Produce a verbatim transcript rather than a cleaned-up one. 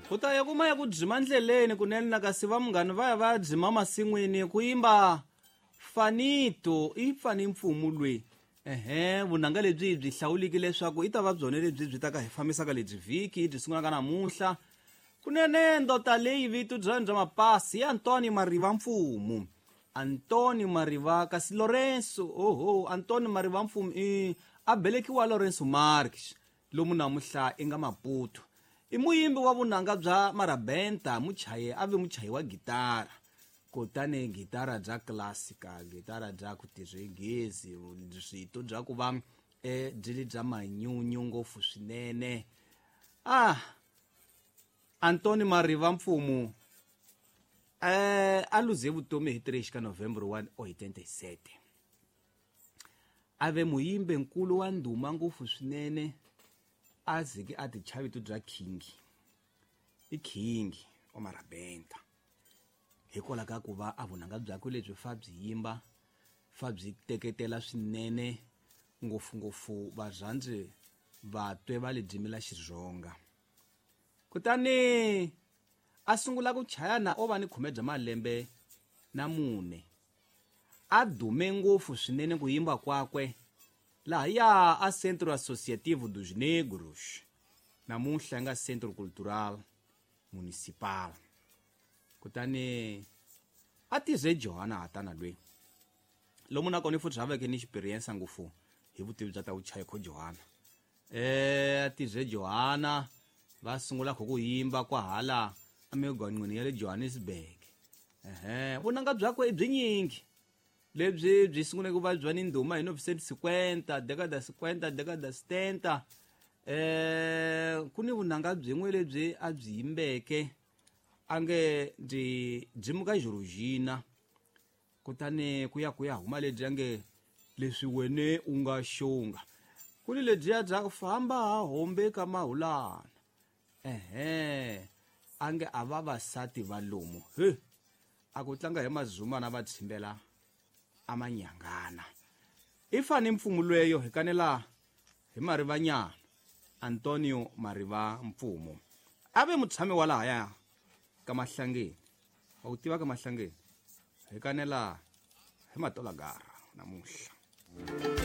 Ku ta ya kuma ya ku dzima ndleleni kunene na kasi va munghani va ya va ya dzima masin'wini ku yimba Fanito i Fani Mpfumu lwe. Ehe, vunanga lebyi byi hlawuliki leswaku i ta va byona lebyi byi ta ka hi fambisaka lebyi vhiki byi sungulaka namuntlha. Kunene ndota leyi vito bya bya mapasi ya Antônio Mariva Mpfumu. Antônio Mariva kasi Lourenço, oho, Antônio Mariva Mpfumu i a belekiwa Lourenço Marques lomu namuntlha i nga Maputo. I muyimbi wa vunanga bya marabenta, muchayi a ve muchayi wa gitara. Kutani gitara bya classical, gitara bya ku tirhegezi, swito bya ku va eh byi ri bya manyunyu ngopfu swinene. Ah, Antônio Mariva Mpfumu eh a luze vutomi hi three ka November one oitenta e sete. A ve muyimbi nkulu wa ndhuma ngopfu swinene, a zike a ti chavito bya king. I king wa marabenta. Hikwalaho ka ku va a vunanga byakwe lebyi fa byi yimba, fa byi teketela swinene ngopfungopfu varhandzi vatwe va le dzimela Xitsonga. Kutani a sungula ku chaya na o va ni khume bya malembe na mune. A dume ngopfu swinene ku yimba kwakwe lahaya a Centro Associativo dos Negros, namuntlha nga Centro Cultural Municipal. Kutani a tirhe Johanna Hatana lwe. Lomu nakona futhi haveke ni experience ngopfu hi vutivi bya ta vuchayi kho Johanna. Eh a tirhe Johanna va sungula kho ku yimba kwahala emigwaqweni ya le Johannesburg. Ehe, vunanga byakwe i byi nyingi. Lebyi byi sungule ku va bya ni ndhuma hi nineteen cinquenta, década cinquenta, década setenta. Eh ku ni vunanga byin'we lebyi a byi yimbeke a nge ndzi dzimuka Georgina. Kutani ku ya ku ya huma lebyi a nge leswi wene u nga xonga. Ku ni lebyiya bya ku famba hombe ka mahulana. Ehe, a nge a vavasati va lomu. He, a ku tlanga hi mazumana va tshimbela amanyangana. I Fani Mpfumu lweyo hi kanela hi Marivanyana, Antônio Mariva Mpfumu. A ve mutshami wa lahaya ka Mahlangeni. Wa ku tiva ka Mahlangeni? Hi kanela hi Matolagara namuntlha.